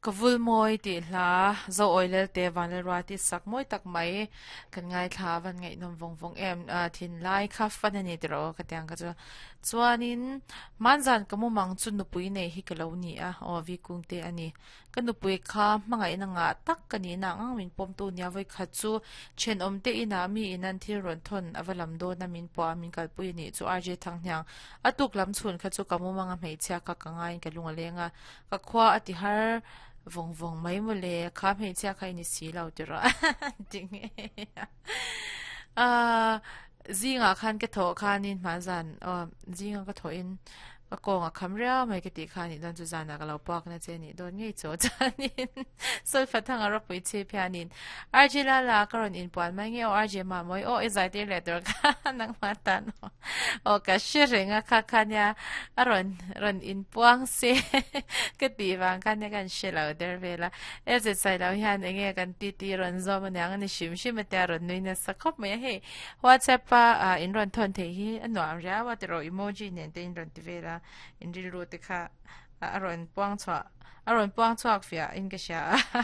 Ka vul mawi tih hla Zoawi Lelte Vanlalruati sak mawi tak mai kan ngaithla a van ngaihnawm vawng vawng em thinlai kha fan a ni tiraw ka tiang kha chu chuanin hmanzan ka mumang chu nupui nei hi ka lo ni a aw vi kung te a ni ka nupui kha hmangaihna ngah tak ka nihna ang ang min pawmtu nia vawikhat chu thenawm te inah mi in an thil rawn thawn a va lam dawn a min pawh a min kalpui a nih chu RJ Thanghniang a tuk lam chhun kha chu ka mumang a hmeichhia kha ka ngaiin ka lung a leng a Ka khua a ti har vawng vawng mai mawle, kha hmeichhia kha i ni si lo ti rawh ti ngei a. Ah, zingah khan ka thawh khanin hmanzan aw zinga ka thawhin ka kawng a kham riau mai ka tih kha anih dawn chu zanah ka lo puak na che anih dawn ngei chaw chuanin Solfa thanga ropui chhip hianin RJ Lala ka rawn inpuan mai nge aw RJ Mamawi aw i zai tir leh tur kha nangmah tan aw. Aw ka hre reng a kha kha nia a rawn rawn inpuang se ka tih vang kha nia kan hre lo der vel a LZ Sailo hian eng nge kan titi rawn zawm aniang a ni hrim hrim a tia rawn nui nasa khawp mai a hei WhatsApp a ah in rawn thawn theih hi a nuam riau a tiraw emoji nen te in rawn ti vel a in rilru te kha a rawn puang chhuah a rawn puang chhuak fiah in ka hria a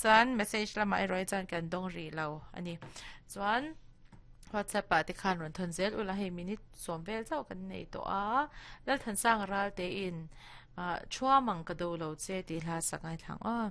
chuan message lamah erawh hi chuan kan dawng rih lo a ni chuan. WhatsApp ah te khan rawn thawn zel ula hei minute sawm vel chauh kan nei tawh a Lalthansanga ral te in ah thuam ang ka do lo che tih hla sak ngaithla ang aw.